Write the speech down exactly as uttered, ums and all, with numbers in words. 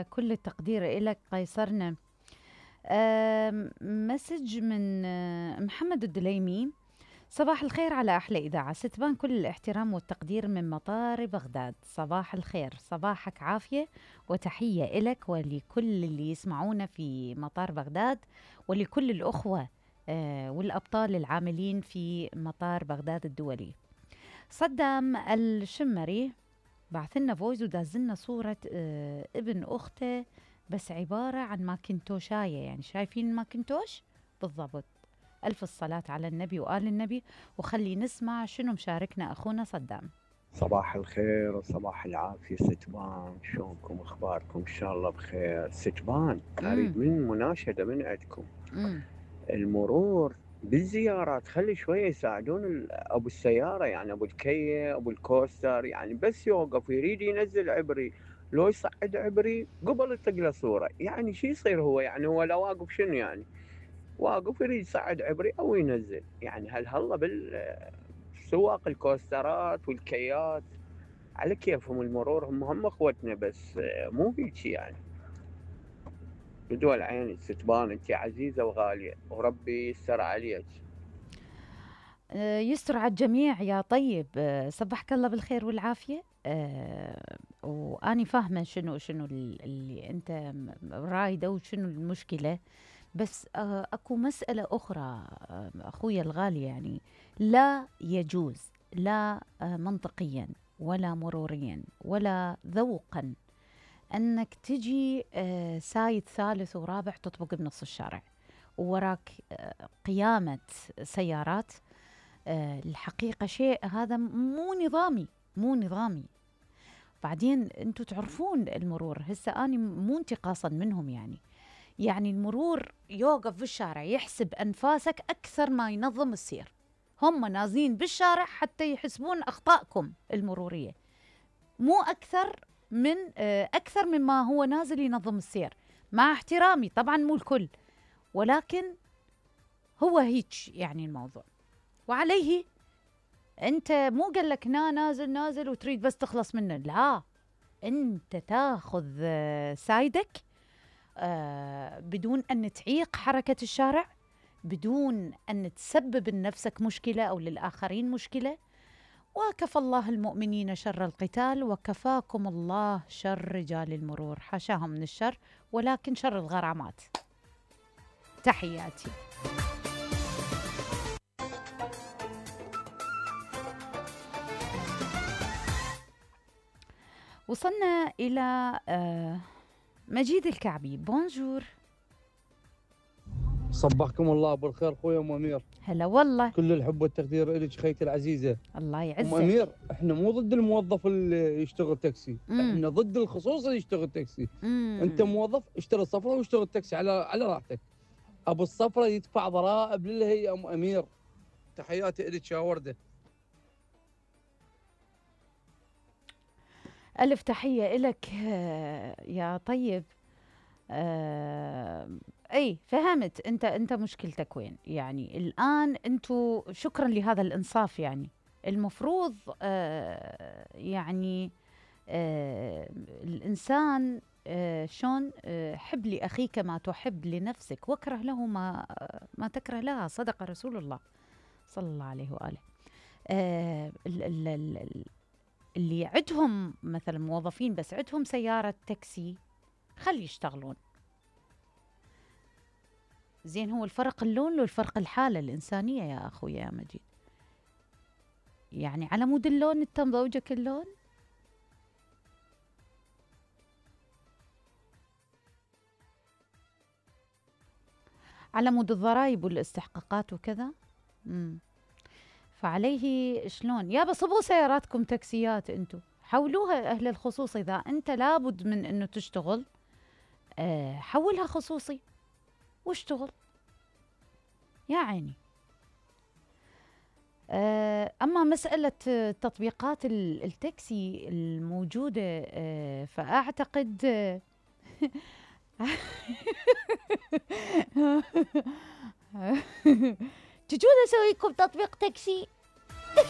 وكل التقدير إلك قيصرنا. آم، مسج من آه، محمد الدليمي: صباح الخير على أحلى إذاعة، ستبان كل الاحترام والتقدير من مطار بغداد. صباح الخير، صباحك عافية وتحية إلك ولكل اللي يسمعونا في مطار بغداد، ولكل الأخوة آه، والأبطال العاملين في مطار بغداد الدولي. صدام الشمري بعث لنا فويس وداز لنا صورة آه، ابن أخته، بس عبارة عن ماكنتوشاية، يعني شايفين ماكنتوش بالضبط. ألف الصلاة على النبي وآل النبي. وخلي نسمع شنو مشاركنا أخونا صدام. صباح الخير وصباح العافية ستبان، شلونكم أخباركم؟ إن شاء الله بخير. ستبان أريد من مناشدة من عندكم. مم. المرور بالزيارات خلي شوية يساعدون أبو السيارة، يعني أبو الكية أبو الكوستر، يعني بس يوقف يريد ينزل عبري لو يصعد عبري قبل يطق له صورة، يعني شي يصير هو؟ يعني هو لو واقف شنو يعني؟ واقف يريد يصعد عبري أو ينزل، يعني هل هلا بالسواق الكوسترات والكيات على كيفهم المرور، هم هم اخوتنا بس مو هيك يعني. بدول عيني ستبان، انت عزيزة وغالية وربي يستر عليك. آه، يستر على الجميع يا طيب. آه، صبحك الله بالخير والعافية. آه، وأني فاهمة شنو شنو ال- اللي أنت م- رايدة وشنو المشكلة، بس آه، أكو مسألة أخرى آه، أخويا الغالي، يعني لا يجوز، لا آه، منطقيا ولا مروريا ولا ذوقا أنك تجي آه، سايد ثالث ورابع تطبق بنص الشارع ووراك آه، قيامة سيارات. آه، الحقيقة شيء هذا مو نظامي، مو نظامي. بعدين انتم تعرفون المرور، هسه أنا مو انتقاصا منهم، يعني يعني المرور يوقف في الشارع يحسب أنفاسك أكثر ما ينظم السير. هم نازلين بالشارع حتى يحسبون أخطائكم المرورية، مو أكثر من آه، أكثر مما هو نازل ينظم السير. مع احترامي طبعا مو الكل، ولكن هو هيك يعني الموضوع. وعليه انت مو قال لك نا نازل نازل وتريد بس تخلص منه، لا، انت تاخذ آه، سايدك آه، بدون ان تعيق حركة الشارع، بدون ان تسبب لنفسك مشكلة او للاخرين مشكلة. وكفى الله المؤمنين شر القتال وكفاكم الله شر رجال المرور، حاشاهم من الشر ولكن شر الغرامات. تحياتي. وصلنا إلى آه، مجيد الكعبي. بونجور. صبحكم الله بالخير خويا ام امير. هلا والله. كل الحب والتقدير لك خيتي العزيزه. الله يعزك. ام امير، احنا مو ضد الموظف اللي يشتغل تاكسي، مم. احنا ضد الخصوص اللي يشتغل تاكسي. مم. انت موظف اشتري صفرة واشتغل تاكسي على على راحتك. ابو الصفرة يدفع ضرائب للهيئه. ام امير تحياتي لك يا ورده. ألف تحية إلك آه، يا طيب. آه، أي فهمت أنت أنت مشكلتك وين. يعني الآن أنتوا شكرا لهذا الإنصاف، يعني المفروض آه، يعني آه، الإنسان آه، شلون آه، حب لأخيك ما تحب لنفسك واكره له ما ما تكره لها، صدق رسول الله صلى الله عليه وآله. آه، ال- ال- ال- اللي عندهم مثلا موظفين بس عندهم سيارة تاكسي خلي يشتغلون. زين، هو الفرق اللون لو الفرق الحالة الإنسانية يا أخويا يا مجيد. يعني على مود اللون انت مضوجك اللون. على مود الضرائب والاستحقاقات وكذا. امم فعليه شلون يابا صبوا سياراتكم تاكسيات، انتم حولوها أهل الخصوص. إذا أنت لابد من أنه تشتغل أه حولها خصوصي واشتغل يا عيني. أه أما مسألة تطبيقات التاكسي الموجودة أه فأعتقد أه تجون أسوي لكم تطبيق تاكسي